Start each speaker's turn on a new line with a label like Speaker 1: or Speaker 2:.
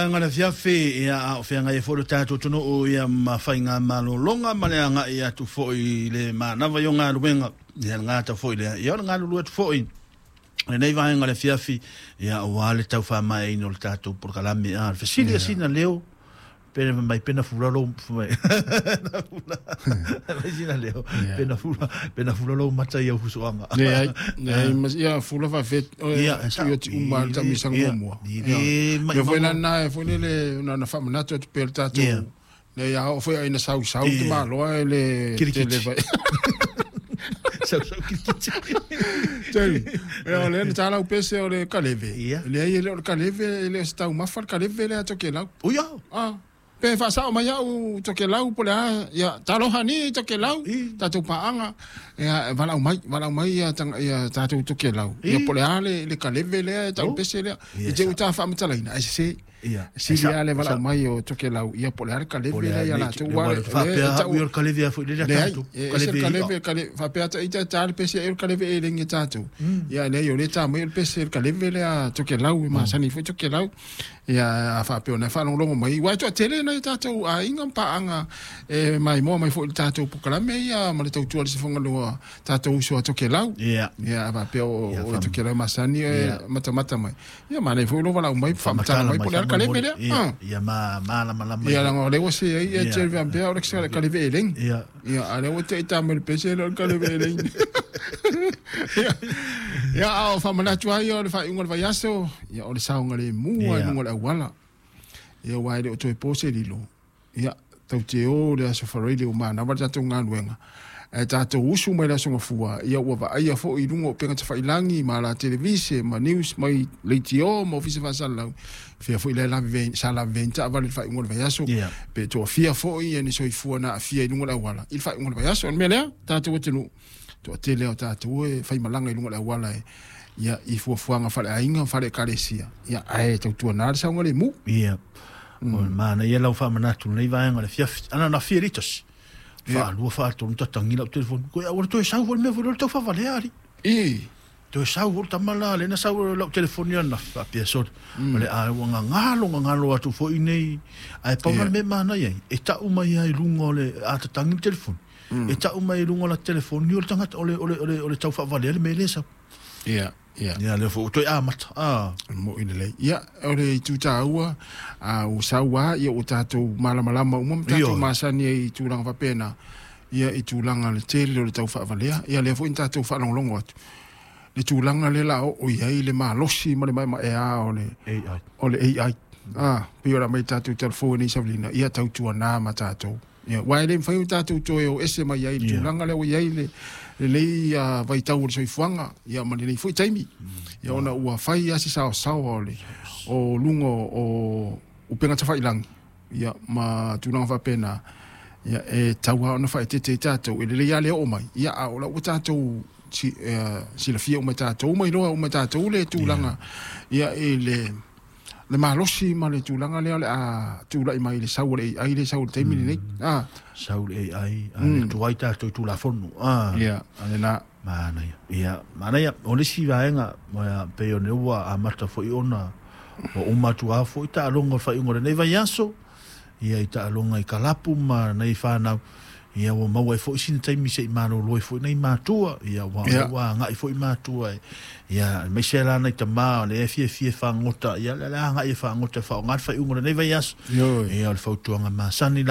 Speaker 1: Vaega le afiafi, ia, a o feagai ai foi lo tatou atunuu, ia, ma faiga malologa ma le agai atu foi i le manava i o galuega, ia, le gata foi lea, ia, o le galulue atu foi lenei vaega le afiafi, ia, aua le tau faamaeaina o le tatou polokalame. A le fesili a sina leo pena mai pena fula lo mai mai sina leo pena fula, pena fula lo mata ia fusoanga.
Speaker 2: Leai, leai, mas ia fula faafet ia ti uma le taamilosaga muamua. Ia foi lana e foi lele na na faamanatu atu pea le tatou le ia oo foi ai na sausau te maloa e le
Speaker 1: tele vai. Sausau kirikiti.
Speaker 2: Tele. Ia o lea na talau pese o le kaleve. Leai e le o le kaleve, e le o se taumafa le kaleve lea a Tokelau.
Speaker 1: Uia.
Speaker 2: Ah. Pe faasao mai au Tokelau po le a, ia talofa ni Tokelau, tatou paaga, ia valaau mai, valaau mai ia, ia tatou Tokelau. Ia po le a le, le kaleve lea e tau pese lea. I te uta faamatalaina, ai sese. Sili lava le valaau mai o Tokelau, ia po o le a le kaleve lea ia latou.
Speaker 1: Ua faapea au o le kaleve a foi lea tatou.
Speaker 2: Leai, e ese le kaleve, faapea ta ita ta le pese e o le kaleve e lengi tatou. Ia leai o le ta mai o le pese le kaleve lea Tokelau, e masani foi Tokelau. Ia a faapea ona faalogologo mai. Ua e toatele nai o tatou aiga ma paaga e maimoa mai foi i le tatou polokalame ia ma le tautua i le sifogalua tatou uso a Tokelau. Ia a faapea o Tokelau masani e matamata mai. Ia manaia foi lou valaau mai faamatala mai po o le a le kaleve lea.
Speaker 1: Ia, ia malamalama.
Speaker 2: Ia leaga o lea ua se ai ia te faapea o le kaleve eleni. Ia. Ia a lea ua te i mai le pese lea o le kaleve eleni. Ia, ia a o faamanatu ai o le faaiuga o le vaiaso, ia o le saogalemu i luga o le auala. Ia aua e le o toe po se lilo. Ia, tatou te o i le aso Faraile ua manava le tatou galuega, ae tatou usu mai le aso Gafua, ia ua vaaia foi i luga o upega tafailagi ma ala televise ma news mai leitio ma ofisa faasalalau, fea foi lea lavevea sa lavevea ai ni taavale i le faaiuga o le vaiaso, pe toafia foi ia ni soifua na aafia i luga o le auala i le faaiuga o le vaiaso. O le mea lea, tatou atunuu, toatele o tatou e faimalaga i luga o le auala e ia i fuafuaga faaleaiga ma faale-ekalesia, ia ae tautuana le saogalemu.
Speaker 1: Ia. O le manaia lau faamanatu i lenei vaega o le afiafi. Ana na fia litasi. Faalua faatolu tatagi lau telefoni. Koe aua le toe sau foi le mea foi lea o le tau faavalea alii.
Speaker 2: I.
Speaker 1: Toe sau foi le tama la lea na sau lau telefoni ananafi faapea sole. O le a ua gagalo gagalo atu foi nei. Ae pau la le mea e manaia ai, e tau mai lava i luga o le a tatagi le telefoni. E tau mai i luga o la telefoni o le tagata o le o le o le o le tau faavalea le mea lea e sau.
Speaker 2: Ia, ia.
Speaker 1: Ia lea foi ua toe amata.
Speaker 2: Ah. Mo'i lelei. Ia, o le itu taua, a ua sau lava, ia ua tatou malamalama uma ma tatou masani ai i tulaga faapena, ia i tulaga le tele o le tau faavalea. Ia lea foi na tatou faalogologo atu, le tulaga lea la oo i ai le malosi ma le maemaea o le
Speaker 1: AI.
Speaker 2: O le AI. Ah, pei o le a mai tatou talafou nei Savelina, ia tautuana ma tatou. Ia, aua e le mafai ona tatou toe o ese mai ai i le tulaga lea ua i ai le, lenei vaitau o le soifuaga, ia, ma lenei foi taimi. Ia, ona ua fai lava se saosaoa o le, o luga o upega tafailagi, ia, ma tulaga faapena, ia, e tatau lava ona faaeteete ai tatou. E lelei lava le oo mai, ia, a o la ua tatou si, silafia uma e tatou ma iloa uma e tatou le tulaga, ia, i le le malosi ma le tulaga lea o le a tulai mai le sau o le AI le sau i le taimi lenei.
Speaker 1: Ah. Sau le AI, a le tuai tatou i Tulafono.
Speaker 2: Ah. Ia, a lena.
Speaker 1: Manaia. Ia, manaia. O le isi vaega, ia, pei o lea ua amata foi ona ua uma atu lava foi taaloga o le faaiuga o lenei vaiaso, ia, i taaloga i kalapu ma nai fanau, ia, ua maua ai foi sina taimi se i malolo ai foi nai matua, ia, ua ua agai foi matua e, ia, aemaise la nai tama o lea e fiafia e fagota, ia, o le a agai e fagota e faaaoga le faaiuga o lenei vaiaso. Ia, o le fautuaga masani.